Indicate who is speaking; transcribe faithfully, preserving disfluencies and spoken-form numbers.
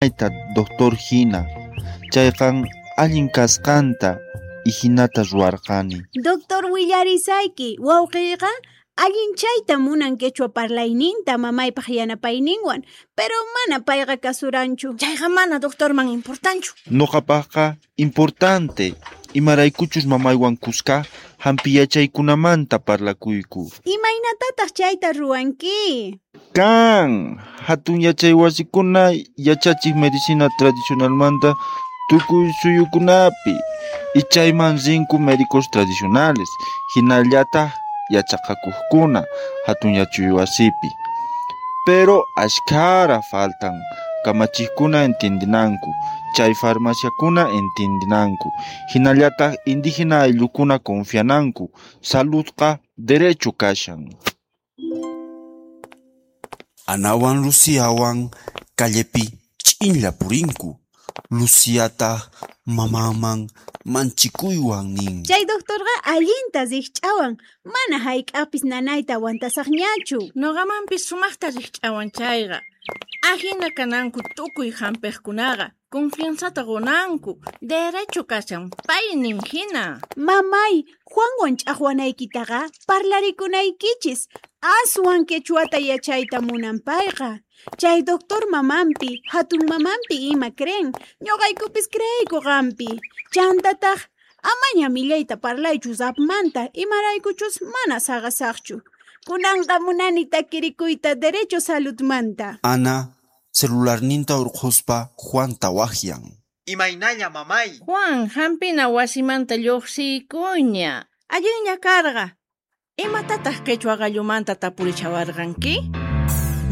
Speaker 1: Mamayta doctor hina, chayqan allin kasqanta ihinata ruwarqani.
Speaker 2: Doctor, willarisayki, wawqiyqa allinchayta munan quechua parlayninta mamaypaq yanapayninwan, pero mana payqa kasuranchu.
Speaker 3: Chayqa mana doctorman importanchu.
Speaker 1: Nuqapaqqa importante, imaraykuchus mamaywan kuska hampi yachaykunamanta parlakuyku.
Speaker 2: Imaynatataq chayta ruwanki?
Speaker 1: Kan, hatun yachay wasikuna yachachiq medicina tradicionalmanta tukuy suyukunapi, ichayman rinku médicos tradicionales, hinallataq yachaqakuqkuna hatun yachay wasipi. Pero ashkhara faltan, kamachiqkuna entiendinanku, chay farmaciakuna entiendinanku, hinallataq indígena ayllukuna confiananku, saludqa derecho kashan.
Speaker 4: Anawan Luciawan callepi ch'inlla purinku. Luciataq mamanman manchikuywan nin.
Speaker 2: Chay doctorqa allinta rikch'awan, mana hayk'apis nanayta aguantasaqñachu.
Speaker 3: Nuqamanpis sumaqta rikch'awan chayqa. Ahina kananku tukuy hampiqkunaqa, confianzata qunanku, derecho kashan paynin hina.
Speaker 2: Mamay, Juanwan ch'aqwanaykitaqa parlarikunaykichis, aswan quechuata yachayta munan payqa. Chay doctor mamanpi, hatun mamanpi ima creen, ñuqaykupis creeyku qampi. Chantataq, amaña millayta parlaychu zapmanta, imaraykuchus mana saqasaqchu. Kunanqa munani takirikuyta derecho saludmanta.
Speaker 4: Ana celularninta urqhuspa Juanta waqyan.
Speaker 5: Imaynalla mamay.
Speaker 3: Juan, hampina wasimanta lluqsiykuña. Allinña karqa. Imatataq quechua qallumanta tapurichawarqanki?